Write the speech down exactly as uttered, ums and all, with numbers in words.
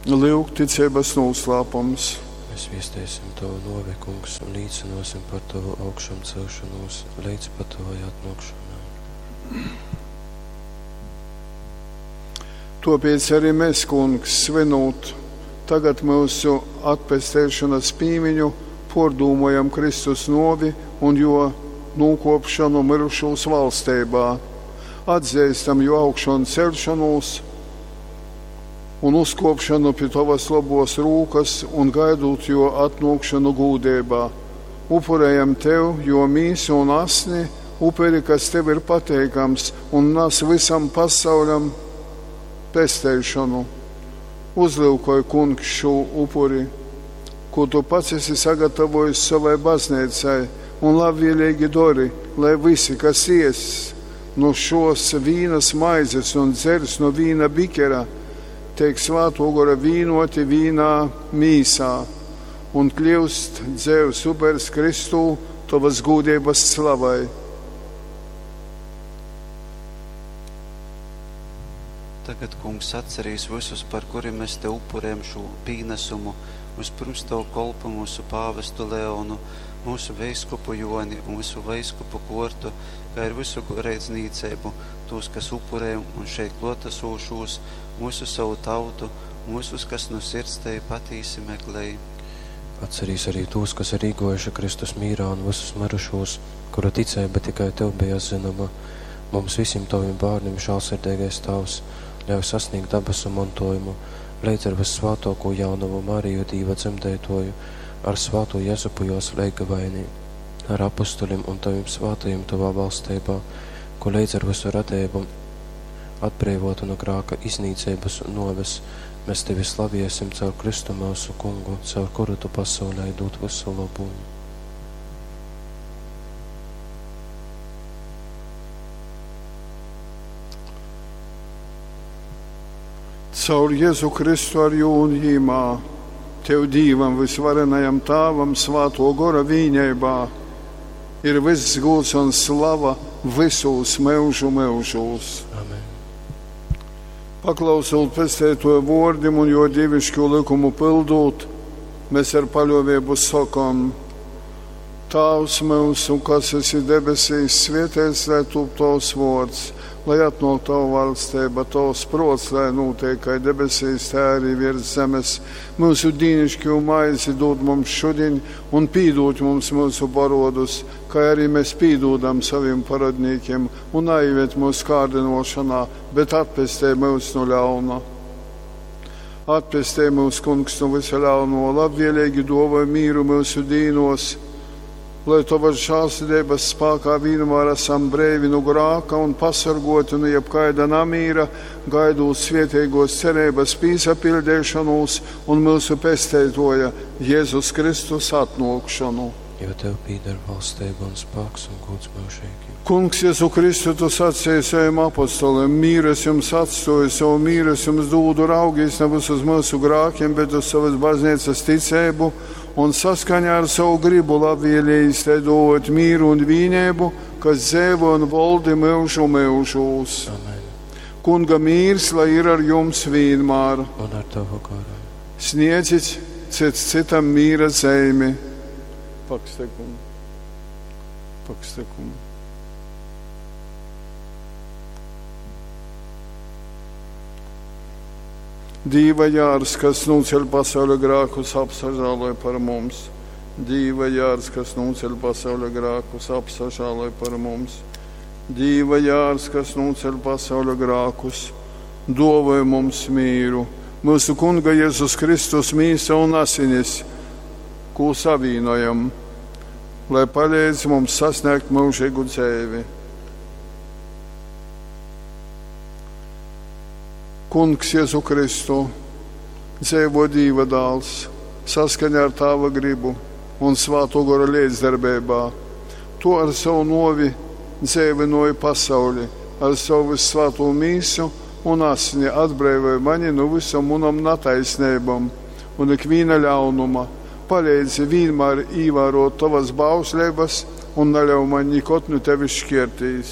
Lyugticeibas nūslāpums. Mēs viesteisim Tavu nuovi, Kungs, un līcinosim par Tavu augšamcelšanos leidz pat Tavai atnākšanai. Tāpēc arī mēs, Kungs, svinot tagad mūsu atpesteišanas pīmiņu, pordūmojam Kristus novi un jo nūkopšanu mirušūs valsteibā. Atzīstam jo augšanu celšanos un uzkopšanu pie Tavas labos rūkas un gaidot jo atnākšanu gūdībā. Upurējam Tev, jo mīsu un asni, uperi, kas Tev ir pateikams un nes visam pasauļam pesteišanu. Uzlūkoj, Kungs, šo upuri, ko Tu pats esi sagatavojis savai baznīcai, un labvēlīgi dori, lai visi, kas ies no šos vīnas maizes un dzers no vīna bikera, tiek svēto gora vīnoti vīnā mīsā un kļūst dzēvs upers Kristū Tavas gūdības slavai. Tagad, Kungs, atcerīs visus, par kuriem mēs Tev upurējam šo pīnesumu, vispirms Tavu kolpu mūsu pāvestu Leonu, mūsu veiskupu Joni un visu veiskupu kortu, kā ir visu goreidznīcību, tos, kas upurē un šeit klotasūšos, mūsu savu tautu un visus, kas no sirds Tevi patīsi meklēj. Atcerīs arī tos, kas ir īgojuši Kristus mīrā un visus mirušos, kuru ticība tikai Tev bija zināma. Mums visiem Taviem bērniem žēlsirdīgais Tēvs, ļauj sasniegt dabasu mantojumu, līdz ar vissvētāko jaunavu Mariju Dīva dzemdētoju, ar svāto Jezupu jos leigavaini, ar apustuļiem un Taviem svātajiem Tavā valstībā, ko līdz ar visu radību atbrīvotu no grāka iznīcības un noves, mēs Tevi slaviesim caur Kristu mūsu kungu, caur kuru Tu pasaulē dod visu labumu. Caur Jēzu Kristu ar jū un jīmā, Tev Dīvam visvarenajam Tāvam svāto gora vīņeibā, ir viss gūts un slava visūs mūžu mūžūs. Amen. Paklausot pestētoja vōrdim un jo dievišķo likumu pildot, mēs ar paļāvību sakam: Tēvs mūsu, kas esi debesīs, svētīts lai top tavs vārds, lai atnāk tava valstība, tavs prots, lai notiek kā debesīs, tā arī virs zemes. Mūsu dīnišķo maizi dod mums šodien un pīdot mums mūsu parodus, kā arī mēs pīdodam saviem parodnīkiem, un neieved mūsu kārdinošanā, bet atpestē mūs no ļauna. Atpestē mūs, Kungs, no visa ļauno, labvēlīgi dāvāj mīru mūsu dīnos, lai Tavas žēlsirdības spēkā vienmēr esam brīvi no grāka un pasargoti no jebkaida namīra, gaidot svētīgos cerības pīsapildīšanos un mūsu pesteitoja Jēzus Kristus atnākšanu. Jo Tev pīder valstība un spēks un gods mūžīgi. Kungs, Jēzu Kristu, Tu sacīji saviem apostoliem, mīru es jums atstoju, savu mīru es jums dūdu, raugies nevis uz mūsu grākiem, bet uz savas baznīcas ticību un saskaņā ar savu gribu labvēlīgi te dot mīru un vīnību, kas dzēvo un valdi mūžu mūžūs. Amen. Kunga mīrs, lai ir ar jums vienmēr. Un ar Tavu garu. Sniedzit cits citam mīra zeimi. Pakstekumu. Pakstekumu. Dīva jārs, kas nūceļ pasauļa grākus, apsažāloj par mums. Dīva jārs, kas nūceļ pasauļa grākus, apsažāloj par mums. Dīva jārs, kas nūceļ pasauļa grākus, dovoj mums mīru. Mūsu Kunga Jēzus Kristus mīsa un asinis, ko savīnojam, lai palīdz mums sasniegt mūžīgu dzīvi. Kungs Jēzu Kristu, dzīvo Dīva dāls, saskaņā ar Tāva gribu un Svāto gora līdzdarbībā. Tu ar savu novi dzīvinoji pasauli, ar savu vissvēto mīsu un asni atbrīvoji mani no visam munam nataisnībam un ikviena ļaunuma. Palīdzi vienmēr ievērot tavas bauslības un neļauj man nikot no tevis šķirtīs.